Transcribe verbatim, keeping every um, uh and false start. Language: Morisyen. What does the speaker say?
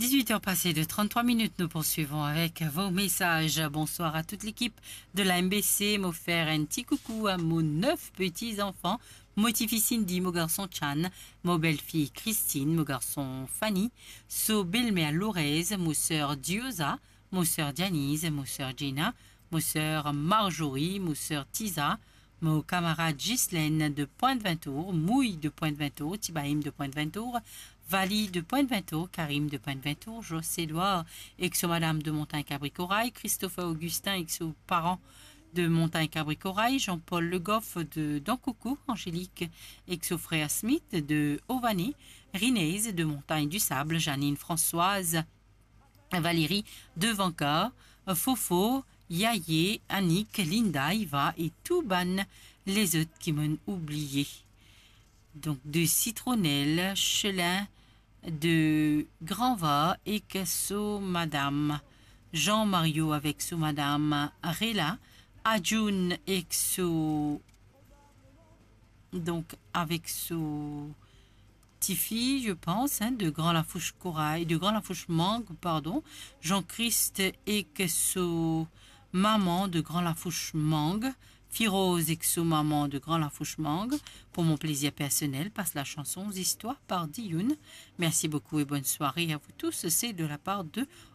Dix-huit heures passées de trente-trois minutes, nous poursuivons avec vos messages. Bonsoir à toute l'équipe de la M B C. Mo fer enn ti koukou a mo nef peti zanfan, mo tifi Cindy, mo garson Chan, mo belfi Christine, mo garson Fanny, so belmer Lorez, mo ser Dioza, mo ser Dianiz, mo ser Gina, mo ser Marjorie, mo ser Tiza, mo kamarad Ghislaine de Pointe-Vintour, Mouy de Pointe-Vintour, Tibaim de Pointe-Vintour, Vali de Pointe-Vintour, Karim de Pointe-Vintour, Jos Edouard ek so madam de Montagne Cabri Corail, Christopher Augustin ek so paran de Montagne Cabri Corail, Jean-Paul Le Goff de Dankoukou, Angélique ek so frer Smith de Ované, Rinez de Montagne du Sable, Janine Françoise, Valérie de Vanka, Fofo, Yaye, Annick, Linda, Iva e tou bann lezot ki mo'nn oubliye. Donk, de Sitronel, Chelin, de Granva ek so madam, Jean Mario avek so madam Rela, Adjoun ek so, donk, avek so tifi, je pense, hein, de Grand Lafouche Corail, de Grand Lafouche Mangue, pardon, Jean-Christ ek so maman de Grand Lafouche Mangue, Firoz ek so maman de Grand Lafouche Mangue, pour mon plaisir personnel, passe la chanson Zistwar par Dioun. Merci beaucoup et bonne soirée à vous tous. C'est de la part de